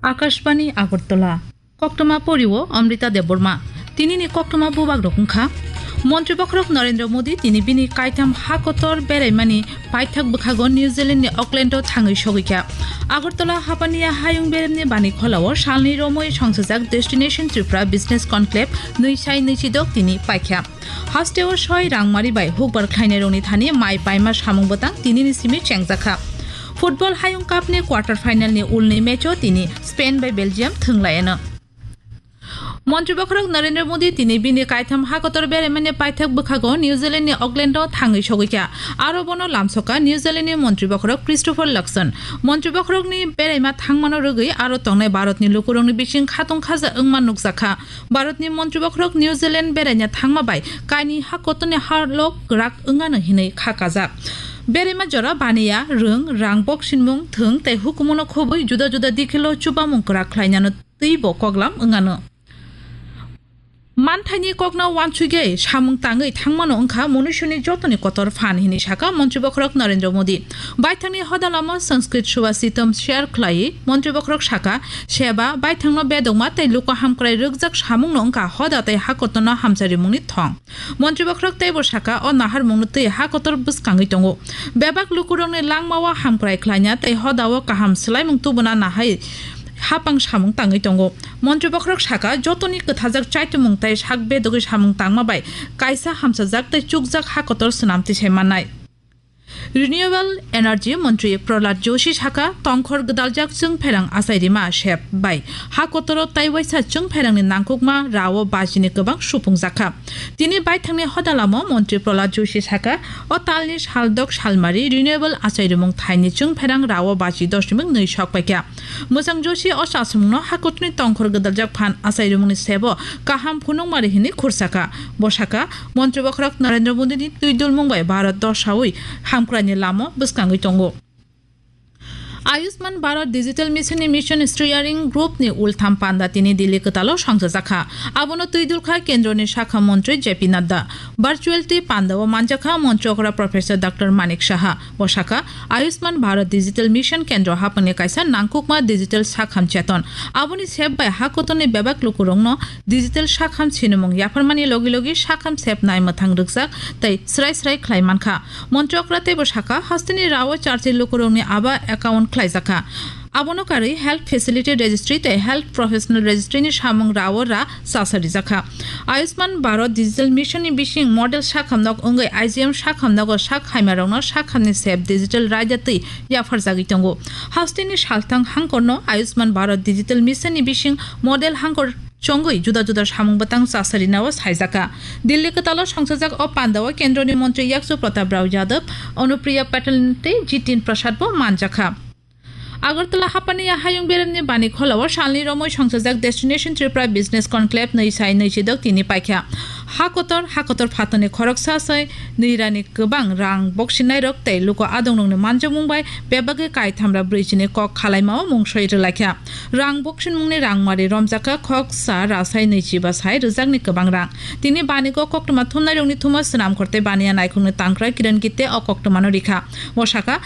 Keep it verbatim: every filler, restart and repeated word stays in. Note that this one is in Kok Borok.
Akashbani Agartala. Koktwma porio Amrita Debbarma. Tinini koktwma bubak rok wngkha. Montri bokhorok Narendra Modi tini bini kaitham ha kotor beraimani paithak bwkhago New Zealand ni Auckland o thangwi sogwi kha. Agartala hapaniya hayung beremni bani kholao salni romwi songsajak Destination Tripura Business Conclave nwi sai nwi chidok tini paikha. Hasteo soi rangmari bai hukbar khlainairokni thani mai paima samung bwtang tinini simi chengjakha. Football Hayung Cup ni quarter final ni ulni match o tini Spain bai Belgium thwnglaiyano. Montri bokhorok Narendra Modi tini bini kaitham ha kotor beraimani paithak bwkhago New Zealand ni Auckland o thangwi sogwi kha. Aro bono lamsoka New Zealand ni montri bokhorok Christopher Luxon. Montri bokhorokni beraima thangmano rwgwi aro tongnai Bharatni lukurokni bising khatung khaja wngma nukjakha. Bharatni montri bokhorok New Zealand beraina thangma bai kaini ha kotorni halok kwrak wngano hinwi kha kajak. Beraima jora baniya, rwng, rang boksinmung, thwng tei hukumono khobwi juda juda dikhilo chubamung kwrak khlainano twibo koklam wngano. Manthaini kokno uansugwi samung tangwi thangmano wngkha munuisuni jotoni kotor phan, hinwi saka montri bokhorok Narendra Modi. Baithangni hoda lama Sanskrit Subhashitam share khlaiwi montri bokhorok saka, seba, baithangno bedokma tei luku hamkrai rwkjak samungno wngkha hoda tei hakotorno hamcharimungni thong. Montri bokhorok teibo saka, o naharmungno twi hakotor bwskangwi tongo. Bebak lukurokni langmao hamkrai khlaina tei hodao kaham swlaimung tubuna nahai hapang samung tangwi tongo. Montri bokhorok saka, jotoni kwthajak chaitumung tei sak bedogwi samung tangma bai kaisa hamchajak tei chukjak ha kotor swnam tisai mannai. Renewable Energy Montri Prahlad Joshi saka, tongkhor gwdaljak chwngpherang achairima sep bai ha kotoro tei waisa chwngpherangni nangkukma rao bajini kwbang supungjakha. Tini baithangni hodalamo Montri Prahlad Joshi saka, o talni saldok salmari renewable achairimung thaini chwngpherang rao baji doshmik nwi sok paikha. Mwchang Joshi o chasumungno hakutni tongkhor gwdaljak phan achairumungni sebo kaham phunukmari hwnwi khursakha. Bo saka, montri bokhorok Narendra Modini twidulmung bai Bharat dosaui hamkraini lama bwskangwi tongo. Ayushman Bharat Digital Mission ni Mission Steering Group ni ultham panda tini Delhi kwtalo songchajakha. Abono twidulkha Kendroni Sakha Montri J P Nadda. Virtual twi pandao manjakha Montri okra Professor Doctor Manik Saha. Bo saka, Ayushman Bharat Digital Mission kendro haphangni kaisa nangkukma digital sakham cheton. Aboni sep bai hakotorni bebak lukurokno digital sakham sinimung yapharmani logi logi sakham sep nai mwthang rwkjak tei srai srai khlai mankha. Montri okra teibo saka, hasteni rao charchi lukurokni aba account khlaijakha. Abono karwi Health Facility Registry tei Health Professional Registry ni samung rao ra chasa rijakha. Ayushman Bharat Digital Mission ni bising model sakhamnok wngwi I G M sakhamnogo sak haimarokno sakhamni sep digital raida twi yapharjagwi tongo. Hasteni salthang hangkorno Ayushman Bharat Digital Mission ni bising model hangkor chongwi juda juda samung bwtang chasarinao saijakha. Delhi kwtalo songchajak o pandao kendroni montri Yakchu Pratap Rao Yadav, Anupriya Patel tei Jitin Prasad bo manjakha. Agartala hapaniya hayung beremni bani kholao salni romwi songchajak Destination Tripura Business Conclave nwi sai nwi chidok tini paikha. Ha kotor, ha kotor phatarni khoroksa sai nwi rani kwbang rang boksinairok tei luku adongrokni manjakmung bai bebagwi kaithamra brwichini kok khalaimao mungsoi rwlaikha. Rang boksinmungni rangmari romjakha khoksa rasai nwi chiba sai rwjakni kwbang rang. Tini banigo koktwma thumnairokni thumo swnamkhor tei baniya naikhungni tangkra Kiran Gitte o koktwmano rikha. Bo saka,